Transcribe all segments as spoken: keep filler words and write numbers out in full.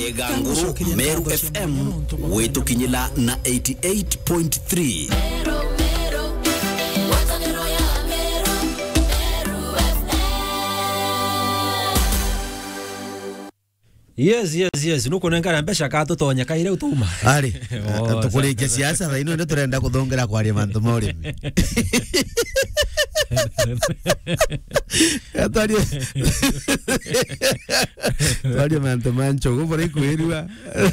Iganguru, Meru F M, gwitukinyila na eighty eight point three. Yes, yes, yes. Nukunengana mbeca ka tutonye kaire utuma. Ari, oh, tukurikia siasa thaa ino ndio turenda kuthongera kwaria mantu ma urimi. Twarie, twarie mantu ma nchogu bora ikwirua.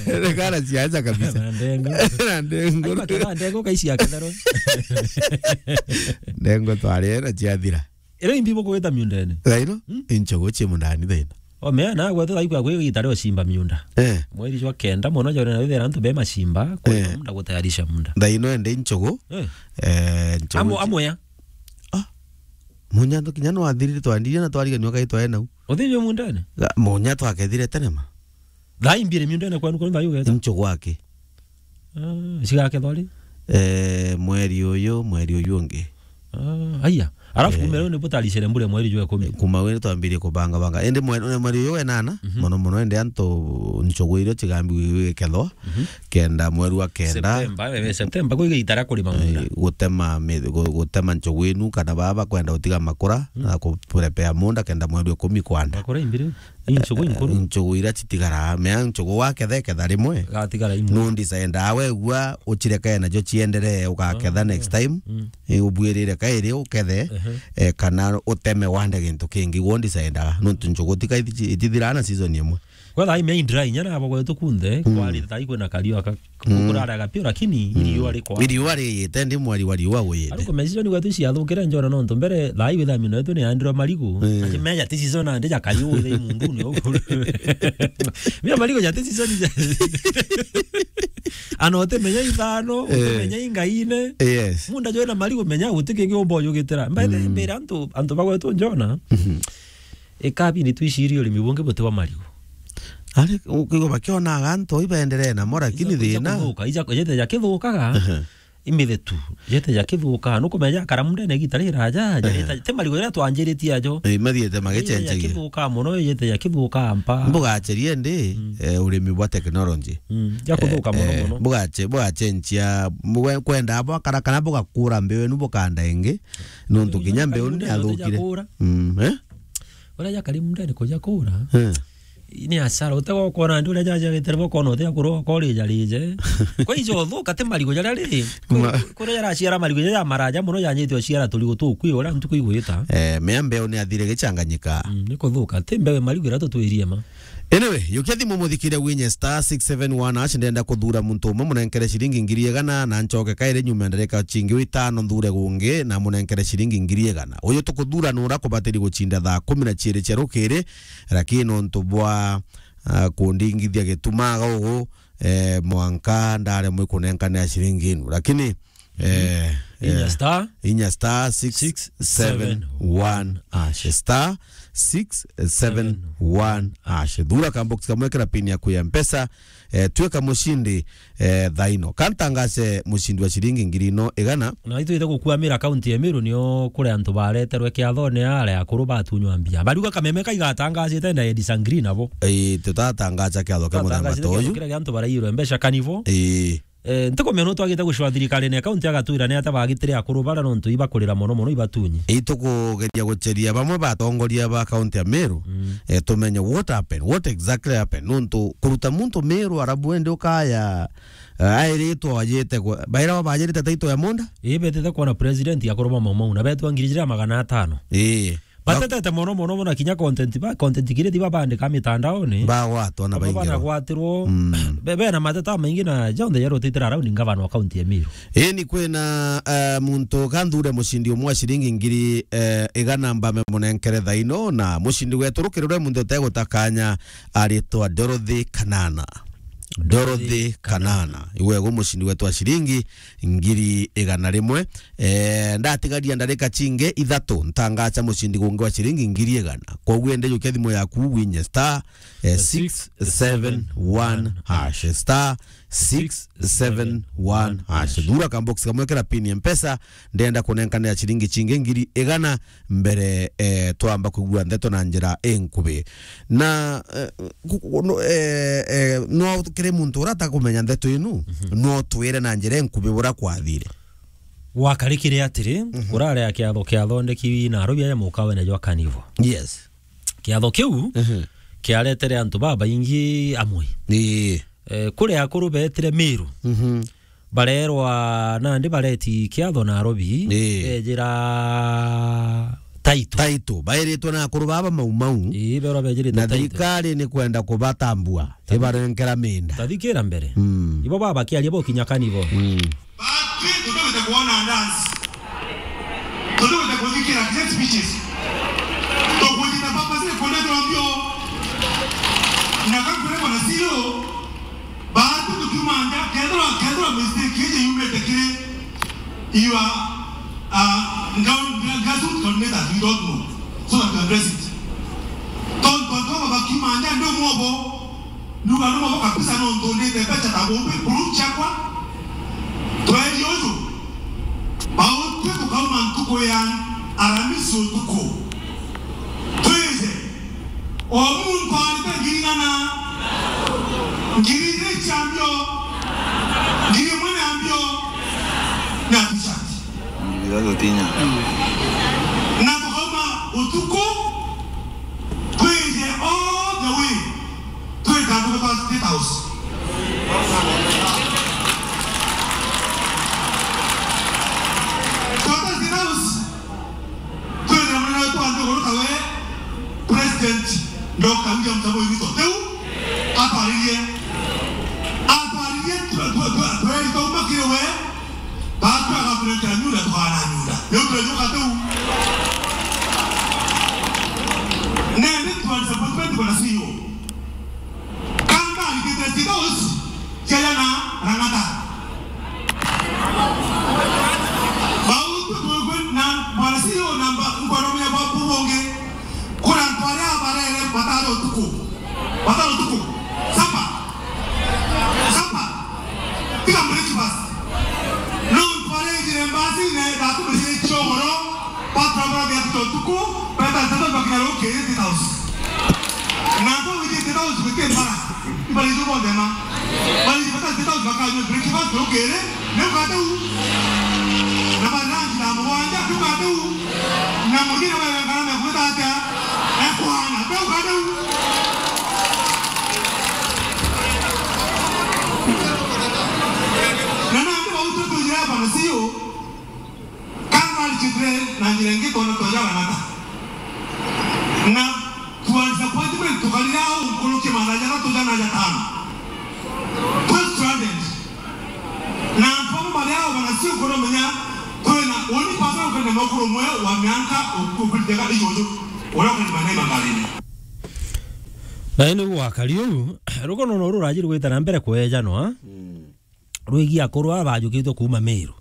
Rekara siasa kabisa. Na ndengu. Na ndengu. Ai, bakira ndengu kaisi ya kethero. Ndengu twari na ciathira. Ira imbi bukugwita miundene. Thaino, hmm? Inchogo cie mundani thaino. O mea na gwetu thaikwa kwi gita rio cimba miunda. Eh. Mweri jwa kenda mono jore na withera antu be macimba, kwa eh, munda gutayarisha munda. Thaino ende inchogo. Eh. Eh, nchogo amo, cie- amo ya? Ah. Munya ndo kinya no athirire twandirie na twariganio kai twae nau. Uthirio mundene? Ga-, munya twakethire tene ma. Thaa imbire miundene kwenu kuri thayu geta? Inchogo aki. Ah, cigakethwa ri? Eh, mweri uyu, mweri uyu ungi. Ah, aya. Alafu eh, kumero ni butaricere mbure mweri jwa ikumi. Kuma wene twambirie kubanga banga. Indi mweri, mweri uyu wenana, mhm, mono mono indi antu nchogo irio cigambi gwikethwa, mhm, kenda mweri wa kenda. September, eh, September, kwi gitara kuri mang'unda. Eh, gutema mi-, gu-, gutema nchogo inu kana baba kwenda utiga makura, mm, na kuprepare munda kenda mweri wa ikumi kwanda. Makura imbire? Inchogo inkuru? Eh, nchogo iria citigara, mea nchogo waketha, ketha rimwe. Gatigara imwe. No ndicenda wegua ucirekae nacio cienderee, ugaketha ah, next time. Mm. Eh, ubuirire kairi ukethe, ehe, eh, kana uteme wande gintu kingi, guo ndicendaga. Nontu nchogo tika ithi-, itithiraa na season imwe. Kwetha imea indry, nyana abo gwetu kunthe, mm, kwari tai kwina kario aka Mm. Kuraraga pio, lakini mm, iriua rikwa. Iriua riyite, ndi mweri wa riua uyite. Ariko meciria ni gwetu ciathukire njona nontu mbere thaa iu ithamino yetu ni andiro marigu. Mm. Ati meja ti season ande ja kariu ile munduni ugu. Mia marigu ja ti season ja. Ana utimenya ithano, eh, utimenya ingaine. Yes. Munda jwena marigu menya guti kingi umba ujugitira. Mbere, mm, mbere antu, antu bagwetu njona. Mhm. Ikabindi twicirie urimi bungi buti bwa marigu. Ari, ukiigua bakionaga antu ibenderee namo, lakini ija, ija thina kuthuka, ija, ijete ja kithukaga, ehe, imithetu, ijete ja kithukaga, nukumenya jakara mundene igita riraja, ehe, jareta, te marigu jaria twanjiritie ajo. Eh, mathiete ijete ja magichenjagia. Kithukaga mono, ijete ja kithukaga mpa. Mbugacherie ndi, mm, eh, urimi bwa technology. Mm, ja kuthuka eh, mono eh, mono. Bugache-, bugachenjia, mwe-, kwenda bwakara kana bugakura mbeu inu bukanda ingi, nontu kinya mbeu ni yathukire. Mm, eh? Uria jakari mundene kuja kura. Eh. Ni asara, utegwa ukona ndi uria jaja gitera bokona utia kurwa ukori jarije. Kwa ijo thuka te marigo jaria ri. Ma- Kuria jaraciara marigo jaja maraja muno janyite uciara turigo tukwi uria ntuku igwita. Eh, mea mbeu ni athire gichanganyika. Mm, ni kuthuka. Te mbeu marigo ira tutwirie ma. Anyway, yukia thimu muthikire winye star six seven one hash, ndenda kuthura muntu umwe munenkere ciringi ngiri igana na nchoke kairi nyuma ndarika chingi witano nthure gungi na munenkere ciringi ngiri igana. Uyu tukuthura nura kubatiri guchinda thaa kumi na chiiri cia rukiri, lakini nontu bwa, ah, kundingithia gitumaga ugu, eh, mwanka ndaremwe kunenkanira ciringi inu. Lakini, eh, inya eh, star inya star six seven one hash. Six seven one. Star six seven one hash. Thura kambox kamwe kira pin yaku ya Mpesa. Eh, tuika mushindi, eh, thaino. Kantangace mushindi wa ciringi ngiri ino igana. Na itwite gukwamira kaunti ya Meru nio kuri antu bareterwe kiathone are akuru batunywa mbia. Bariuga kameme kaigatangacite na Edi Sangri nabo. Eh, tutatangaca kiatho kia muthemba ta uyu. Kiria antu barairwe mbeca kanivo. Eh. Eh, ntikumenya no twagite gucwa thirikarine ya kaunti agatwira ni ata bagitire akuru bara nontu ibakurira mono mono ibatunyi. Itukugeria gucheria bamwe batongoria ba kaunti ya Meru, mm, eh, tumenye what happened, what exactly happened. Nontu kuruta muntu Meru arabu ende ukaya, eh, airitwe ajite ku-, baira bajirite taito ya munda? Ii, betete kuona president ya kuruma Mau Mau na betwa ngiri jira magana atano. Ii. Batetete mono mono mono kinya content ba, content creator babandika mitandaoni. Bagwatwa na baingi. Banagwatirwo. Mm. Be, bena mateta maingi na jonthe jarutitira around ngavana wa kaunti ya Meru. Eni kwina, eh, muntu kanthure mushindi umwe wa ciringi ngiri, eh, igana mbame munenkere thaino na mushindi wetu rukiri rwe muntu utegutakanya aritwa Dorothy Kanana. Dorothy Kanana. Iwe gu mushindi wetu wa ciringi ngiri igana rimwe. Eh, ndatigaria ndarika chingi ithatu, ntangacha mushindi gungi wa ciringi ngiri igana. Kwoguo ende jukia thimu yaku winye star, eh, six seven one hash. Star six seven one hash. Thura ka box kamwe kira pin ya Mpesa, ndenda kunenkanira ciringi cingi ngiri igana mbere, eh, twamba kwigua ndeto na njira inkubi. Na, eh, ku-, ku-, no, eh, eh, no kiri muntu uria atakumenya ndeto inu, no twire na njira inkubi bura kwathire. Gwakarikire atiri, kurari a kiatho kiathondeki Nairobi aja mukawene jwa Carnival. Yes. Kiatho kiu kiaretere antu babaingi amwe. Ii. Eh, kuri akuru betire Miru. Mhm. Barerwa nandi bareti kiatho Nairobi, ii, bejira title. Title. Bairitwe na akuru baba Mau Mau. Ii, berwa bejirite na title. Thirikari ni kwenda kubatambua, ibarenkera minda. Tathikira mbere. Mm. Ibo baba kiaria bo kinya Carnival. Mm. Batwi tutugite kwona dance. Tutugite kuthikira great speeches. Tukwitite papa zile kwenda tuambio. Na kakurema na sio. Batwi tukiuma nja, kethirwa, kethirwa mistake iji yumite kiri your, uh, ground, grassroots coordinators, we don't know. So that we address it. Tontu antu aba bakiuma nja, ndi umwe obo. Nduga ni mabo kabisa nontu ndite mbeca ta bumbi, buru ciakwa. Tweri uju. Bautwi tukauma ntuku ya Aramisi utuku. Twije. O muntu arite ngiri igana. Ngiri igiri cia mbio. Ngiri imwe na mbio. Na t-shirt. Ngiri itatu tinya. Na tukauma utuku. Twije all the way. Twita antu ba State House. Twita State House. Twina munene wetu wa nthiguru tawe President Doctor William Samoei Ruto. Riu atwaririe. Atwaririe twe-, twe-, twe-, tweri twauma kiri we. Batwi agakurenkera nyunda, tukaana nyunda. Riu turenyuka tiu. Nende twa disappointment bwana C E O. Kanga arikite State House, ciaja na Lang'ata. Bau tukwigwe na bwana C E O na mba-, nkwana menya bwa bubonge. Kuna antu aria barere batari utuku. Batari utuku. Sapa. Sapa. Tiga breakfast. No antu aria ejire mbasi ne ndakumire ciogoro. Baturabara bia tuto tuku. Beta tata bakira rukiri State House. Na antu aria ejire State House gutire mbara. Ibara icio bonthe ma. Bari bata State House bakanyua breakfast rukiri. Ni ukate u. Na bari lunch thaa mugwanja, ni ukate u. Na muthia na bari ngara me kwita atia? Ekwana, ni ukate u. Na nandi bau tutujire bwana C E O. Kanga arikitire na njira ingi twona twaja Lang'ata. Na twa disappointment tukarira au nkuruki mathaa jathatu jana jatano. Twi stranded. Na antu bamwe bari au bana si ukuromenya twina uni pasa ukenda mukuru mwe wa mianka ukuritega ijuju. Uria ukenda mane magarini. Na indi gwakari uu, rugono no ruraji rugwita na mbere kwejanwa. Mm. Rwigi akuru aba bajukitwe kuuma Meru.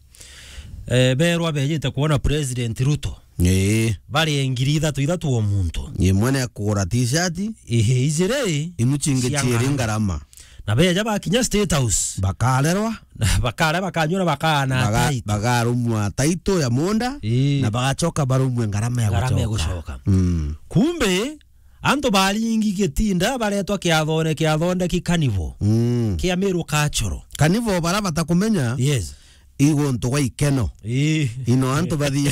Eh, berwa bejite kwona President Ruto. Ii. Bari ngiri ithatu ithatu o muntu. Imwe ni akugura t-shirt. Ihi, ijiri. Inu cingi cia ciiri ngarama. Ngarama. Na beja bakinya State House. Bakarerwa. Bakare bakanyua na bakana. Baga-, title. Bagarumwa title ya munda. Ii. Na bagacoka barumwe ngarama ya gucoka. Ngarama ya gucoka. Mm. Kumbe, antu baringi gitinda baretwa kiathone kiathondeki Carnival. Mm. Kia Meru Cultural. Carnival bara batakumenya. Yes. Iguntu gwa ikeno. Ii. Ino antu bathi.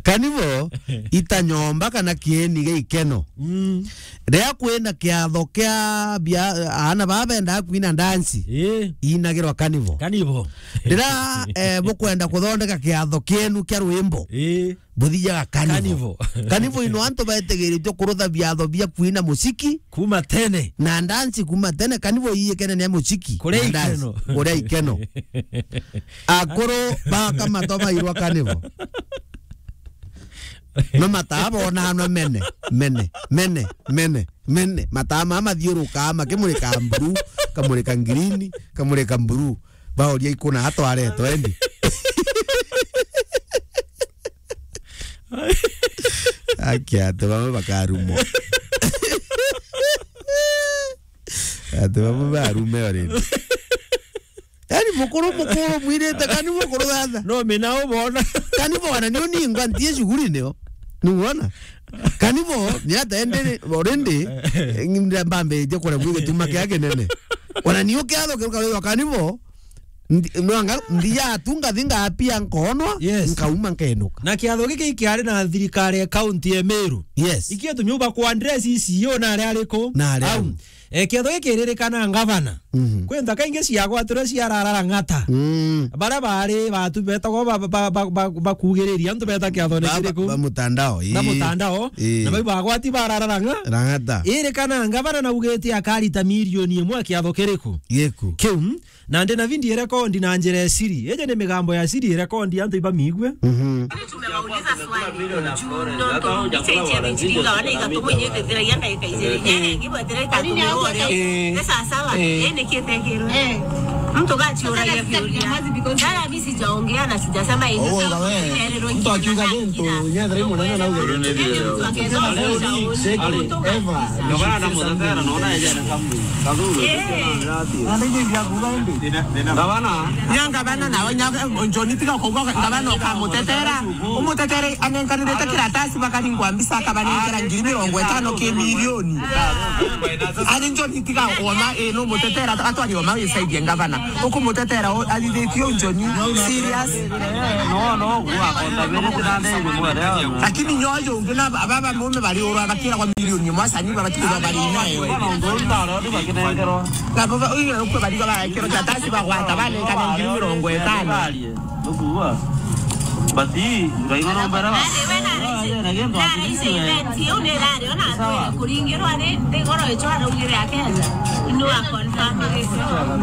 Carnival itanyomba kana kieni gia ikeno. Mm. Riria kwina kiatho kia bia, aana baba bendaga kwina dance. Ii. Inagirwa Carnival. Carnival. Riria, eh, bukwenda kuthondeka kiatho kienu kia rwimbo. Ii. Buthijaga Carnival. Carnival. Carnival ino antu betegeretwe kurutha biatho bia kwina musiki. Kuma tene. Na ndansi kuma tene, Carnival iyikene ni musiki. Kuria na dance. Ikeno. Kuria ikeno. Akuru baka mato bairwa Carnival. No mataa bona hano mene, mene, mene, mene, mene. Mataa mama mathiurukaa makimurika blue, kamurika green, kamurika blue. Baoria ikuna atwaretwe endi. Aki ati bamwe bakarumwa. Ati babu barume already. Yaani mukuru, mukuru mwirite, kani mukuru thata. No, mina ubona. Kani bona, ni uningwa ntie shughuli nio. Nuona? Kani bo, ni ata endere, already, mbambe je kore bwige tuma kia kinene. Ona ni ukiatho kiruka wega, kani bo, ndi-, nwanga, ndia tu ngathi ngapia nkonwa, Yes. nkauma nkenuka. Na kiatho giki kiari na thirikari ya kaunti ya Meru. Yes. Ikio tunyuba kwa address icio na ari ariku? Na ari Au. ariku? Eh, kiatho giki ririkana ngavana. Mhm. Kwi nthaka ingi ciagwatirwe ciararara ng'ata. Mm. Baria baari batu betagwa ba, ba, ba, ba, bakugiriria antu beta kiathone Ba, ba, kiriku? ba mutandao, Ba ii. mutandao. Ii. Na bau bagwati bararara ng'a? Rang'ata. Iri kana ngavana naugite akarita milioni imwe kiatho kiriku? Giku. Kiu, na ndi na video rekondi na njira ya siri. Iji ni migambo ya siri rekondi antu ibamigue. Mhm. Tumewauliza swali juu nontu mbicha ichia bichiringa wana igatumwa inyitetheragia ndagika ijiri. Nyanya ingibwetera itatu migore. Eh. Ni sawa sawa. Eh. Eh, nikitekirwe. Eh. Mtu gachiuragia viuria. Dara, mimi sijaongea na sijasema hivi. Oh, wewe. Mtu akiuga gintu, nyethera munene na uge. Mtu akiuga Eva. Gavana na Muthetera, naona yeye ni kamu. Kathuru. Eh. Na ndio ndio kuga ndi. Gavana. Nya ngavana na nya Njoni tiga kuga ngavana ukamutetera. Umutetere anenkanirite kiratasi bakaringwa mbica akabanengera ngiri mirongo itano ki milioni. Ani Njoni tiga wona, eh, no mutetera atwari oma wisaidie ngavana. Ukumutetera o- athithitie u Njoni serious. No, no, gwa konda bere tira ndege mwere. Lakini nyoyo ungi na baba mume bari urwa bakira kwa milioni imwe, asani baba tiga bari nayo. Na baba uyu ukwe bari kwa bakira kiratasi bagwata banengana ngiri mirongo itano. Ndukuua. But hii, Ngai no mbere wa. Ari we na raisi. Na raisi event, yo ni rari, ona atwire kuringirwa ni, ni goro icho araugire akenda. Inu a confirm.